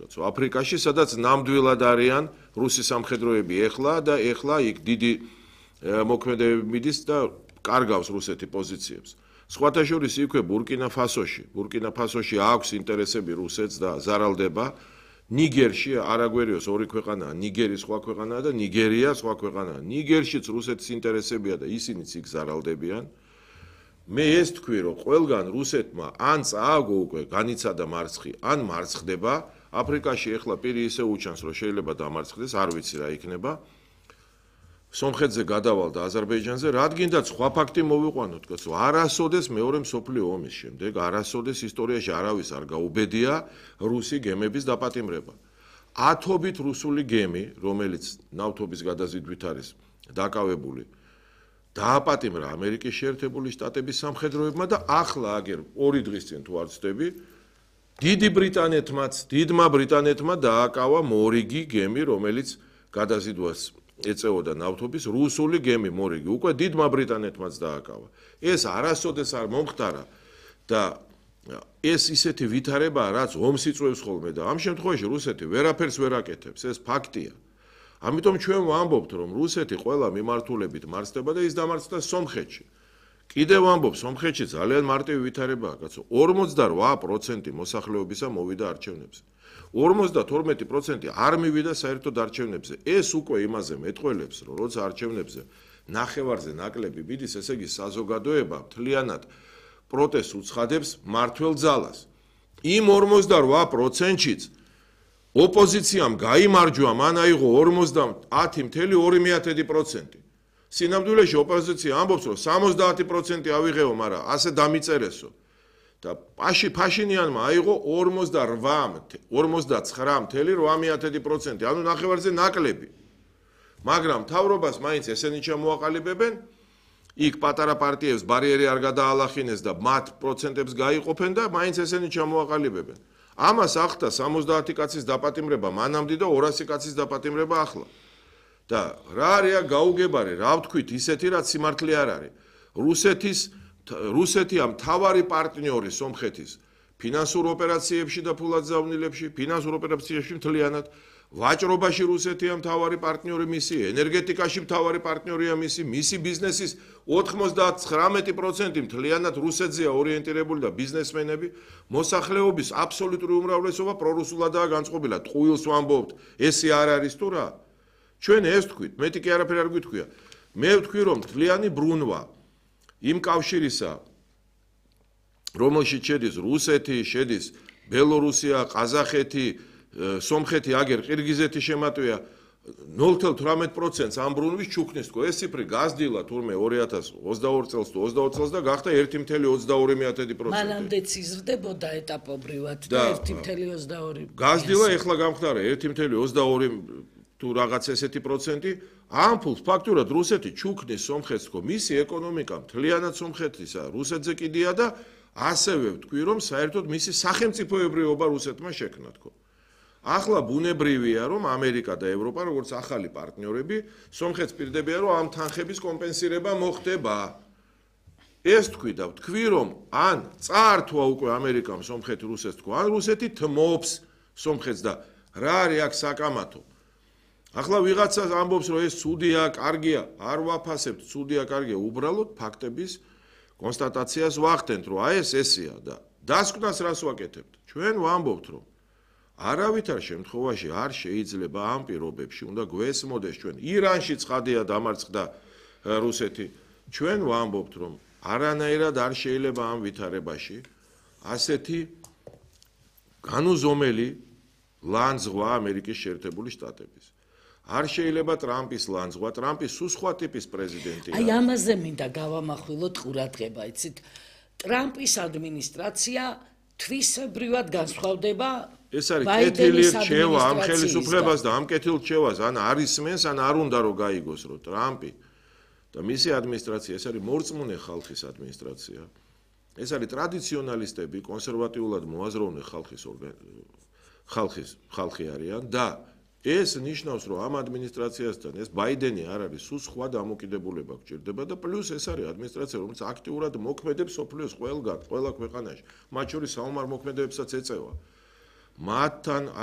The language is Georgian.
კაცო, აფრიკაში, სადაც ნამდვილად არიან რუსი სამხედროები ეხლა და ეხლა იქ დიდი მოქმედებები მიდის და კარგავს რუსეთი პოზიციებს. სხვათა შორის იქვე ბურკინა ფასოში აქვს ინტერესები რუსეთს და ზარალდება. ნიგერში არაგვერიოს ორი ქვეყანაა, ნიგერი სხვა ქვეყანაა და ნიგერია სხვა ქვეყანაა. ნიგერშიც რუსეთის ინტერესებია და ისინიც იქ ზარალდებიან. მე ეს თქვი, რომ ყველგან რუსეთმა ან წააგო უკვე განიცადა მარცხი, ან მარცხდება. აფრიკაში ეხლა პირი ისე უჩანს, რომ შეიძლება დამარცხდეს, არ ვიცი რა იქნება. სომხეთზე გადავალ და აზერბაიჯანზე, რადგინდაც სხვა ფაქტი მოვიყვანოთ, კაცო, არასოდეს მეორე მსოფლიო ომის შემდეგ, არასოდეს ისტორიაში არავის არ გაუბედია რუსი გემების დაპატიმრება. ათობით რუსული გემი, რომელიც ნავთობის გადაზიდვით არის დაკავებული, დააპატიმრა ამერიკის შეერთებული შტატების სამხედროებმა და ახლა აგერ 2 დღის წინ თუ არ ვცდები, დიდმა ბრიტანეთმა დააკავა მორიგი გემი, რომელიც გადაზიდვას ეწეოდა ნავთობის რუსული გემი მორიგი, უკვე დიდმა ბრიტანეთმაც დააკავა. ეს არასოდეს არ მომხდარა და ეს ისეთი ვითარებაა, რაც ომს იწვევს ხოლმე და ამ შემთხვევაში რუსეთი ვერაფერს ვერ აკეთებს, ეს ფაქტია. ამიტომ ჩვენ ვამბობთ, რომ რუსეთი ყველა მიმართულებით მარცხდება და ის დამარცხდა სომხეთში. კიდევ ვამბობ, სომხეთში ძალიან მარტივი ვითარებაა, კაცო, 48% მოსახლეობისა მოვიდა არჩევნებზე. 52% არ მივიდა საერთოდ არჩევნებზე. ეს უკვე იმაზე მეტყველებს, რომ როცა არჩევნებზე ნახევარზე ნაკლები მიდის, ესე იგი საზოგადოება მთლიანად პროტესტს უცხადებს მმართველ ძალას. იმ 48%-შიც ოპოზიციამ გაიმარჯვა, მან აიღო 50.2%. სინამდვილეში ოპოზიცია ამბობს, რომ 70% ავიღეო, მაგრამ ასე დამიწერესო. და ფაშინიანმა აიღო 49.8%, ანუ ნახევარზე ნაკლები. მაგრამ მთავრობას მაინც ესენი ჩამოაყალიბებენ, იქ პატარა პარტიებს ბარიერი არ გადაალახინეს და მათ პროცენტებს გაიყოფენ და მაინც ესენი ჩამოაყალიბებენ. ამას ახდა 70 კაცის დაპატიმრება მანამდე და 200 კაცის დაპატიმრება ახლა. და რა არია გაუგებარი, რა ვთქვით, ისეთი რაც სიმართლე არ არის. რუსეთია მთავარი პარტნიორი სომხეთის ფინანსურ ოპერაციებში და ფულადზავნილებში, ფინანსურ ოპერაციებში მთლიანად, ვაჭრობაში რუსეთია მთავარი პარტნიორი მისი, ენერგეტიკაში მთავარი პარტნიორია მისი ბიზნესის 99% მთლიანად რუსეთზეა ორიენტირებული და ბიზნესმენები, მოსახლეობის აბსოლუტური უმრავლესობა პრორუსულადაა განწყობილი. ტყუილს ვამბობთ, ესე არ არის თუ რა? ჩვენ ეს ვთქვით, მეტი კი არაფერი არ გვითქვია. მე ვთქვი, რომ მთლიანი ბრუნვა იმ კავშირისა, რომელშიც შედის რუსეთი, შედის ბელორუსია, ყაზახეთი, სომხეთი, აგერ ყირგიზეთი შემატვია 0.18% ამ ბრუნვის ჩუქნის თქო. ეს ციფრი გაზრდილა თურმე 2022 წელს თუ 22 წელს და გახდა 1.22%. მანამდეც იზრდებოდა ეტაპობრივად და 1.22. გაზრდილა ეხლა გამხდარა 1.22 თუ რაღაც ესეთი პროცენტი. ამ ფულს ფაქტურად რუსეთი ჩუქნის სომხეთს თქო. მისი ეკონომიკა მთლიანად სომხეთისა, რუსეთზე კიდია და ასევე ვთქვი, რომ საერთოდ მისი სახელმწიფოებრიობა რუსეთმა შექმნა თქო. ახლა ბუნებრივია, რომ ამერიკა და ევროპა, როგორც ახალი პარტნიორები, სომხეთს პირდებიან, რომ ამ თანხების კომპენსირება მოხდება. ეს თქვი და ვთქვი, რომ ან წაართვა უკვე ამერიკამ სომხეთი რუსეთს თქო, ან რუსეთი თმობს სომხეთს და რა არის აქ საკამათო. ახლა ვიღაცას ამბობს, რომ ეს ცუდია, კარგია, არ ვაფასებთ, ცუდია, კარგია, უბრალოდ ფაქტების კონსტატაციას ვახდენთ, რომ აი ეს ესეა და დასკვნას რას ვაკეთებთ? ჩვენ ვამბობთ, რომ არავითარ შემთხვევაში არ შეიძლება ამ პირობებში უნდა გვესმოდეს ჩვენ ირანში ცხადია დამარცხდა რუსეთი. ჩვენ ვამბობთ, რომ არანაირად არ შეიძლება ამ ვითარებაში ასეთი განუზომელი ლანძღვა ამერიკის შეერთებული შტატების. არ შეიძლება ტრამპის ლანძღვა, ტრამპი სულ სხვა ტიპის პრეზიდენტია. აი ამაზე მინდა გავამახვილოთ ყურადღება, იცით, ტრამპის ადმინისტრაცია თვისებრივად განსხვავდება ეს არის კეთილი რჩევა ამ ხელისუფლებას და ამ კეთილ რჩევას ან არ ისმენს, ან არ უნდა რომ გაიგოს, რომ ტრამპი და მისი ადმინისტრაცია ეს არის მორწმუნე ხალხის ადმინისტრაცია. ეს არის ტრადიციონალისტები, კონსერვატიულად მოაზროვნე ხალხი არიან და ეს ნიშნავს, რომ ამ ადმინისტრაციასთან ეს ბაიდენი არ არის, სულ სხვა დამოკიდებულება გჭირდება და პლუს ეს არის ადმინისტრაცია, რომელიც აქტიურად მოქმედებს სოფლიოს ყველა ქვეყანაში, მათ შორის საომარ მოქმედებებსაც ეწევა. მათთან